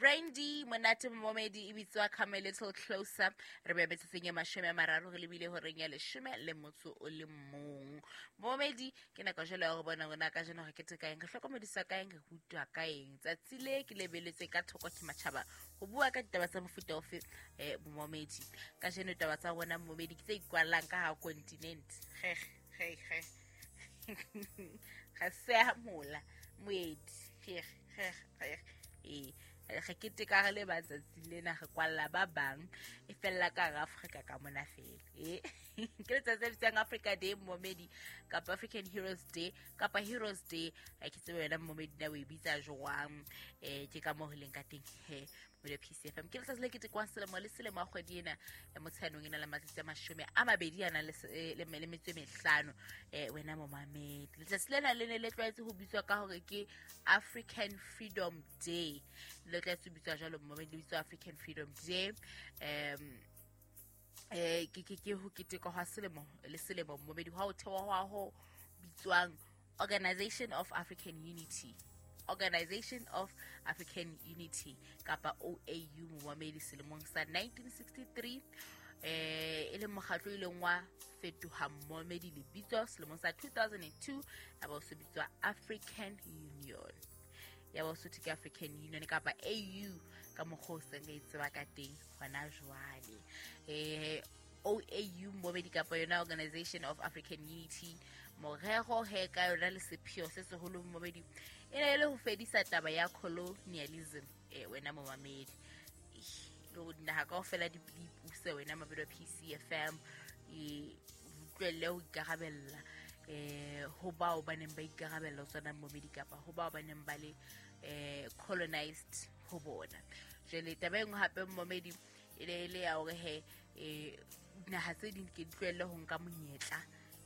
Brandy monate momedi e bitswa Come a Little Closer. Re be metsotsong e 30 re lebile horeng ya 11. Momedi ke nako jwale ya go bona rona ka jeno re keteka eng, re hlokomedisa ka eng, re rutwa ka eng. Tsatsi le ke lebeletse ka thoko ke matjhaba ho bua ka ditaba tsa mofuta ofe momedi. Ka jeno taba tsa rona momedi ke tse ikwallang ka ha continent. Ge ge ge. Ga se mola moedi. Ge ge ge. Re keteka re le batsatsi lena re kwalla ba bang e fella ka hara Afrika ka mona fela. Ke letsatsi le bitswang Africa Day momedi kapa African Heroes Day kapa Heroes Day. Ke tsebe wena momedi na o e bitsa jwang. Ke ka moo ho leng ka teng he mo PCFM. Ke letsatsi le ketekwang selemo le selemo a kgwedi ena motsheanong ena le matsatsi a 22 a nang le metso e mehlano. Wena momamedi, letsatsi lena le ne le tlwaetse ho bitswa ka hore ke African Freedom Day. Le tlwaetse ho bitswa jwalo momedi, le bitswa African Freedom Day. Ke ho ketekwa hwa selemo le selemo momedi hwa ho thewa hwa ho bitswang Organization of African Unity. Organization of African Unity kapa OAU momedi selemong sa 1963. E le mokgatlo e leng wa fetoha momedi lebitso selemong sa 2002 ya ba o se bitswa African Union. Ya ba o se ke African Union kapa AU ka mokgwa o seng re tseba ka teng hona jwale. OAU momedi kapa yona Organization of African Unity, morero he ka yona le sepheo se seholo momedi e ne le ho fedisa taba ya colonialism. Wena momamedi, le ho dinaha kaofela di ipuse wena mamedi wa PCFM, utlwelle ho ikarabella ho bao ba neng ba ikarabella ho tsona momedi kapa ho bao ba neng ba le colonized ho bona. Jwale taba e nngwe hape momedi e ne le ya hore he dinaha tse ding ke di tlohelle ho nka monyetla.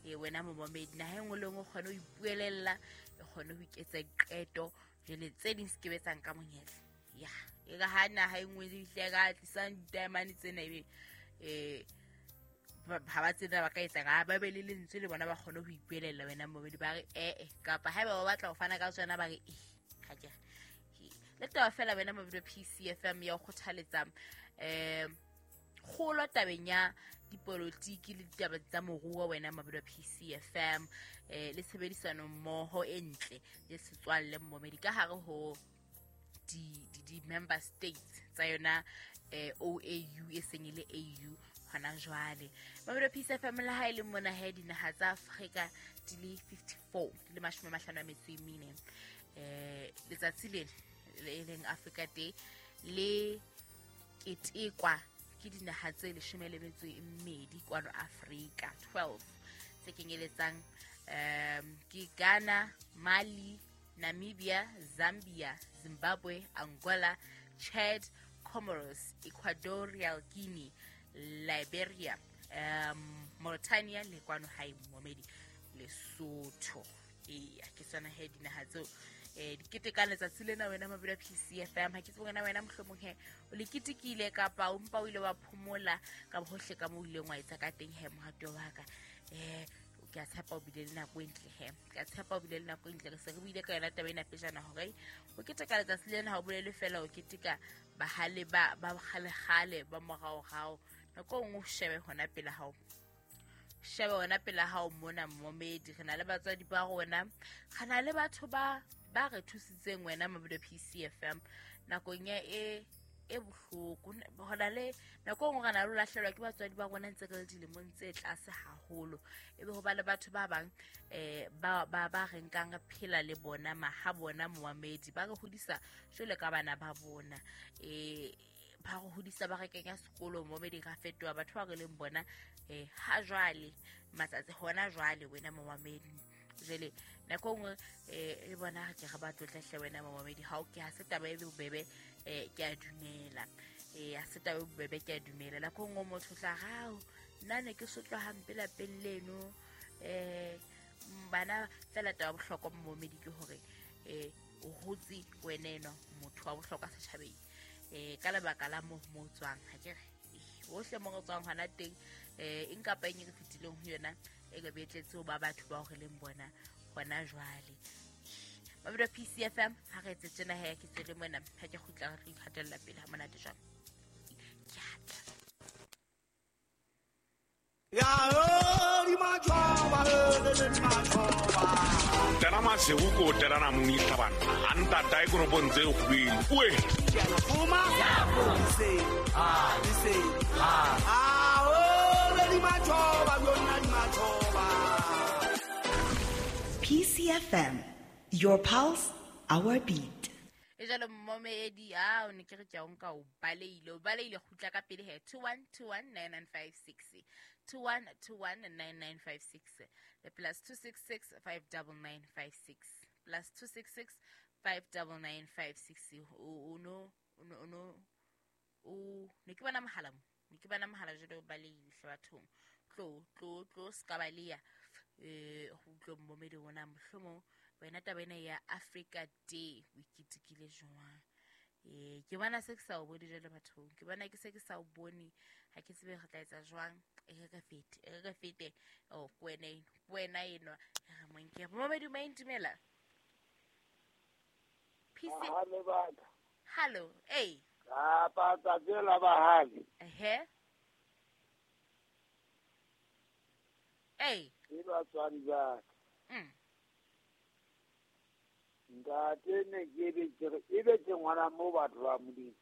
Wena momamedi, naha e nngwe le nngwe o kgone ho ipuelella, e kgone ho iketsa diqeto. Jwale tse ding se ke betsang ka monyetla. Ya, e ka ha naha e nngwe e hle ka tlisang ditamane tsena ebe ha ba tsena ba ka etsa ga ba be le lentswe le bona ba kgone ho ipuelella wena momedi, ba re kapa haeba ba batla ho fana ka tsona ba re ha ke le taba fela wena momedi wa PCFM ya ho kgothaletsa kgolo tabeng ya dipolotiki le ditaba tsa moruo wena momedi wa PCFM, le tshebedisano mmoho e ntle le setswalle momedi ka hare ho di member states tsa yona OAU e seng e le AU hona jwale. Mamedi wa PCFM, le ha e le mona he dinaha tsa Afrika di le 54 di le 54. Letsatsi lena le leng Africa Day le ketekwa ke dinaha tse 12 kwano Afrika, 12 tse kenyeletsang ke Ghana, Mali, Namibia, Zambia, Zimbabwe, Angola, Chad, Comoros, Equatorial Guinea, Liberia, Mauritania le kwano hae momedi Lesotho. Eya, ke tsona he dinaha tseo di keteka letsatsi lena wena mamedi wa PCFM. Ha ke tsebe wena wena mohlomong he o le ketekile kapa o mpa o ile wa phomola ka hohle ka moo o ileng wa etsa ka teng he mohato wa ka. Ke a tshepa o bile le nako e ntle he. Ke a tshepa o bile le nako e ntle. Re se re buile ka yona taba ena pejana hore o keteka letsatsi lena ha o bolele fela o keteka bahale ba kgale-kgale ba moraorao. Nako e nngwe o shebe hona pela hao. Shebe hona pela hao mona momedi. Re na le batswadi ba rona, re na le batho ba re thusitseng wena mamedi wa PCFM nakong ya e bohloko. Hona le nako e nngwe re na le ho lahlehelwa ke batswadi ba rona ntse re le dilemong tse tlase haholo. Ebe ho ba le batho ba bang ba re nkang re phela le bona maha bona momamedi, ba re hodisa jwale ka bana ba bona. Ba re hodisa ba re kenya sekolo momedi, ra fetoha batho ba re leng bona ha jwale matsatsi hona jwale wena momamedi. Jwale nako nngwe le bona ke re ba tlotlehle wena momamedi. Ha o ke ha se taba e bobebe, ke a dumela. Ha se taba e bobebe, ke a dumela. Nako nngwe motho tla rao nna ne ke sotlwa hampe lapeng leno. Bana fela taba bohlokwa momedi ke hore o hotse wena enwa motho wa bohlokwa setjhabeng. Ka lebaka la mo mo tswang ha ke re hohle mo re tswang hona teng eng kapa eng e re fetileng ho yona e ka betletse ho ba batho ba re leng bona hona jwale. Mabelo PCFM ha re etse tjena he ke tswele mona ha ke kgutla re ikgatella pele ha monate jwang. Ke atla. Ya di majoba le majoba. Tena masego ko terana moni tlhabana. Anta tae koropong tse kgwele. Oe. Fuma. Se. Ah, se. Ah, oh le di majoba yona di majoba. PCFM, your pulse, our beat. E jalo mmomedi a o ne ke re ke a o nka o baleile kgutla ka pele he 21219956 21219956 le plus 266 59956 plus 266 59956 o no o ne ke bona mohala mo ne ke bona mohala jalo o baleile hle bathong tlo tlo ska baleya go utlwe mmomedi ona mohlomong wena taba ena ya Africa Day o iketekile jwang. Ke bona se ke sa o bone jwale bathong, ke bona ke se ke sa o bone, ha ke tsebe re tla etsa jwang. E re fete oh ke wena enwa re monke momedi ma intumela PC hallo eh apa tsela ba hali ehe eh ke batswadi ba ntate ne ke be ke re ebe ke ngwana mo batho ba Modimo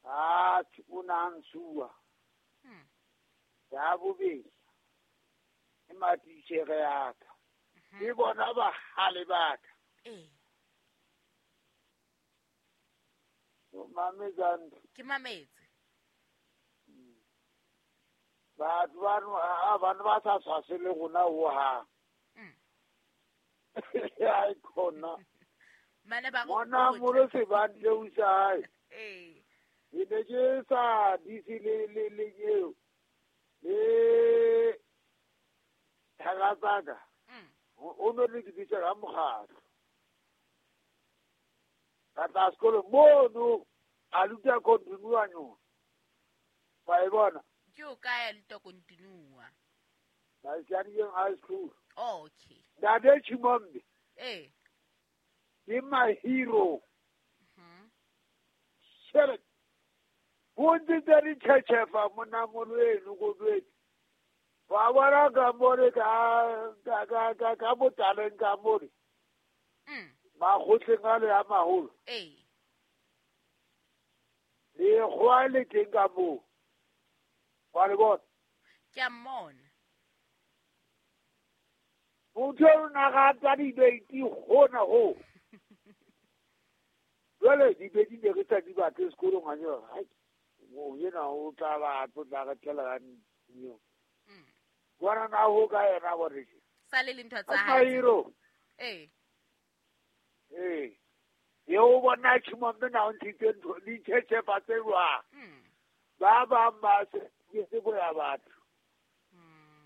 a o na nsuwa ya bobedi ke matitjhere ya ka ke bona bahale ba ka o mametsang ke mametse batho bano ba sa tshwase le rona ho hang. Ai khona mana ba go bona mo se ba nteusa hae eh e ne ke sa disi le le eo le thagatsaka o no le ke ditsa ka mokgatlo ka tla sekolo mono a luta continua no ba e bona ke o kae luta continua ba sianeng high school. Oh, okay. Ntate Chimombe. Eh. Ke my hero. Shere. Bontsi tsa ditšhetšhefa mona molweno go dwetse. Ba bona ka more ka ka botaleng ka more. Makgotleng a le a maholo. Eh. Le kgoa le teng ka moo. Wa le bona? Ke a mmona. Motho o na rata dibeti gona ho. Jwale dibeti ne re sa di batle sekolong a jwa. Hai. Mo yena o tla ba tla re tlela ka nyo. Bona na ho ka yena bore. Sale le ntho tsa hae. Eh. Eh. Ye o bona Chimombe na o ntshitse ntho di tšhetšhefa tse jwang. Ba bang ba se ke se boya batho.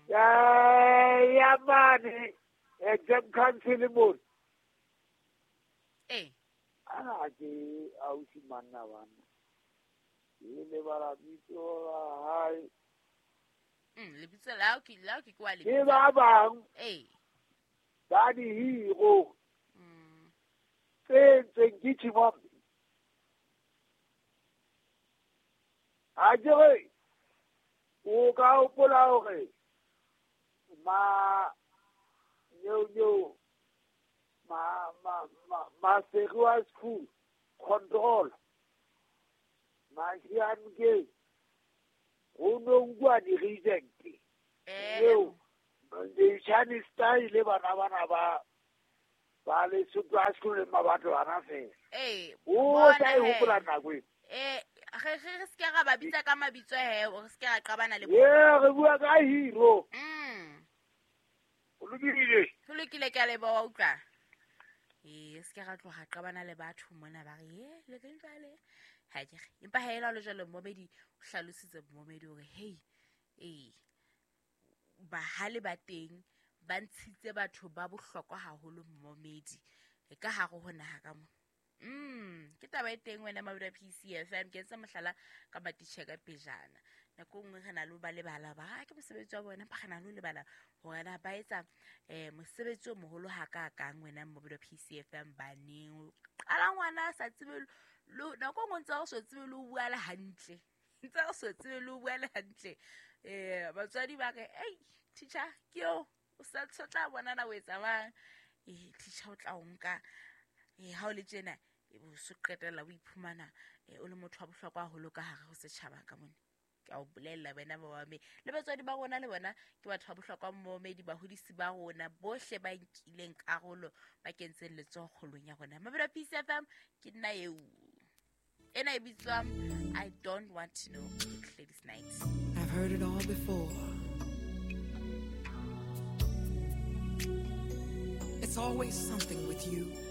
Ya mane exam council mo. Eh. Ana ke ausi manna bana. Le le bara bitso la hae. Lebitso la ke kwa le. Ke ba bang. Eh. Ba di hero. Tse ntseng ke Chimombe. A jere o ka hopola hore ma yo ma ma ma ma Serua school control ma sian ke o no ngwa di reject eo di Chinese style bana bana ba ba le Serua school le mabatho bana fela eh o sa e hopola nako e eh re se ke ra ba bitsa ka mabitso he re se ke ra qabana le bona eh re bua ka hero o lokile ho lokile ke a leboha utlwa eh se ke ra tloha qabana le batho mona ba re e le reng jwale ha ke re empa ha ela le jwale mmomedi o hlalositse mmomedi hore hey eh bahale ba teng ba ntshitse batho ba bohlokwa haholo mmomedi e ka hare ho naha ka mo. Ke taba e teng wena Mabura PCFM ke entse mohlala ka matitjhe ka pejana. Nako nngwe re na le ho ba lebala ba ke mosebetsi wa bona, empa re na le ho lebala hore na ba etsa mosebetsi o moholo hakakang wena mmobedi wa PCFM baneng. O qala ngwana a sa tsebe nako nngwe ntse o so tsebe le ho bua le hantle. Ntse o so tsebe le ho bua le hantle. Batswadi ba re, "Ei, teacher, ke eo, o sa tla bona na o etsa mang." Teacher o tla o nka ha o le tjena, o so qetella o iphumana o le motho wa bohlokwa haholo ka hare ho setjhaba ka mona. Ke a o bolella wena momamedi. Le batswadi ba rona le bona ke batho ba bohlokwa momamedi, bahodisi ba rona bohle ba nkileng karolo ba kentseng letsoho kgolong ya rona. Mabelo a PCFM ke nna eo. Ena e bitswa I Don't Want to Know, Gladys Knight. I've heard it all before. It's always something with you.